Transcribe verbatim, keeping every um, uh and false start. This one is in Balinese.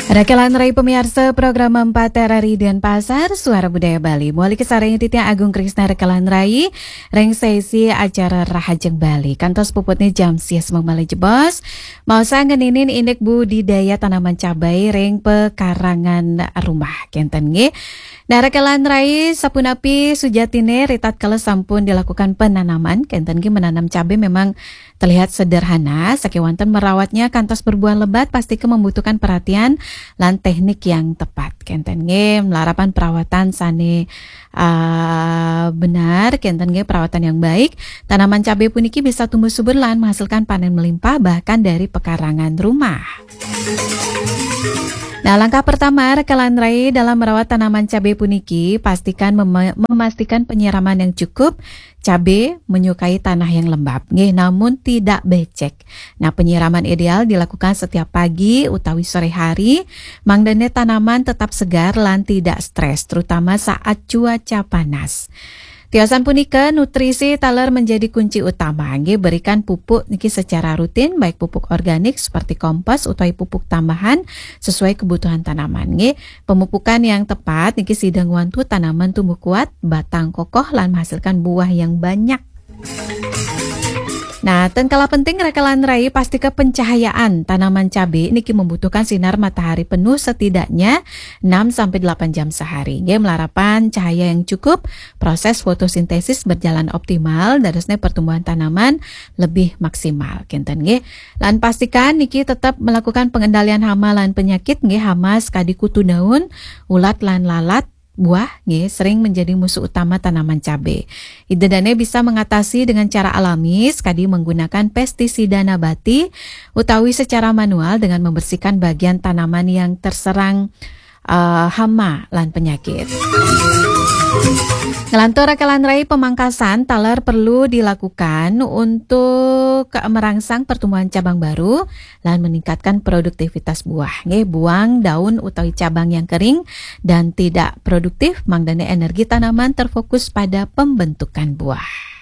Rekelan rai pemiarsa program empat R R I Denpasar, Suara Budaya Bali. Muali kasarengin titiang Agung Krisna rekelan rai, ring sesi acara Rahajeng Bali. Kantos puputne jam sias mangmale jebos. Maosang ngeninin indik budidaya tanaman cabai ring pekarangan rumah. Kenten nggih. Nah, rekelan rai sapunapi sujatine ritatkala sampun dilakukan penanaman. Kenten nggih, menanam cabai memang terlihat sederhana, sakewanten merawatnya kantos berbuah lebat pasti ke membutuhkan perhatian lan teknik yang tepat. Kenten nggih, malarapan perawatan sane, ah, benar, kenten nggih, perawatan yang baik. Tanaman cabai puniki bisa tumbuh subur lan menghasilkan panen melimpah bahkan dari pekarangan rumah. Nah, langkah pertama rekelan rai dalam merawat tanaman cabai puniki, pastikan mema-, memastikan penyiraman yang cukup. Cabai menyukai tanah yang lembab, nggih, namun tidak becek. Nah, penyiraman ideal dilakukan setiap pagi utawi sore hari, mangdane tanaman tetap segar lan tidak stres, terutama saat cuaca panas. Tiosan punika, nutrisi taler menjadi kunci utama, nggih, berikan pupuk niki secara rutin, baik pupuk organik seperti kompos utawi pupuk tambahan sesuai kebutuhan tanaman, nggih. Pemupukan yang tepat niki sida ngwantu tanaman tumbuh kuat, batang kokoh, lan menghasilkan buah yang banyak. Nah, ten kalah penting rekelan rai, pastika pencahayaan tanaman cabai niki membutuhkan sinar matahari penuh setidaknya enam sampai delapan jam sehari. Nggih, malarapan cahaya yang cukup, proses fotosintesis berjalan optimal, dadosne pertumbuhan tanaman lebih maksimal. Kenten nggih. Lan pastikan niki tetap melakukan pengendalian hama lan penyakit nggih, hama sekadi kutu daun, ulat lan lalat, buah nggih, sering menjadi musuh utama tanaman cabai. Ida dane bisa mengatasi dengan cara alami, sekadi menggunakan pestisida nabati, utawi secara manual dengan membersihkan bagian tanaman yang terserang, eh, hama lan penyakit. Ngelantur rekelan rai, pemangkasan taler perlu dilakukan untuk merangsang pertumbuhan cabang baru lan meningkatkan produktivitas buah. Nggih, buang daun utawi cabang yang kering dan tidak produktif, mangdane energi tanaman terfokus pada pembentukan buah.